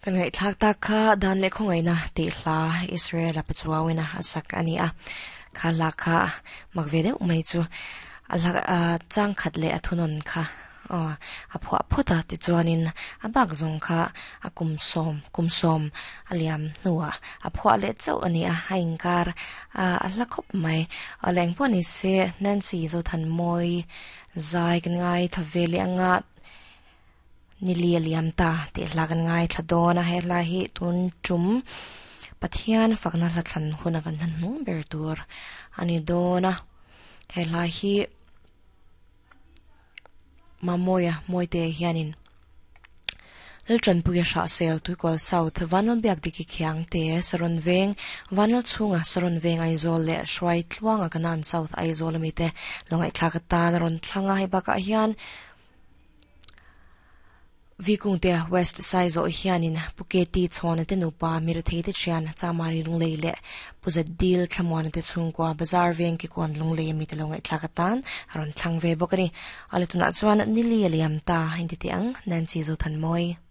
Kan ngaihthlak tak kha dan leh khawngaihna tih hla Israel-a Pachuauina a sak a ni a. Kha hla kha mak ve deuh mai chu a hla chang khat leh a thunawn kha a phuah phawt a tichuanin a bak zawng kha a kum sawm kum sawm a liam hnuah a phuah leh chauh a ni a, a inkar a hla khawp mai. Awle engpawh ni se Nancy Zothanmawii zai kan ngaithla ve leh anga Nili a liam ta tih hla kan ngaithla dawn a, he hla hi tun tum Pathian fakna hla thlan huna kan hlan hnung ber tur a ni dawn a, he hla hi Mamawia Mawite hianin Laltanpuia Hrahsel Tuikual South Vanlalbiak Diki Khiangte Saron Veng Vanlal chhunga Saron Veng Aizawl leh Hruai Tluanga Kanan South Aizawl amite lo ngaihthlak atan a rawn thlang a, hei bakah hian Vikungte West Saizawh hianin Pu KT Chhawna te nupa Mirethei te thian Chamari Lunglei leh Pu Zadil Thlamuana te chhungkua Bazar Veng Kikawn Lunglei ami te lo ngaihthlak atan a rawn thlang ve bawk a ni. A la tunah chuan Nili a liam ta inti teh ang Nancy Zothanmawi.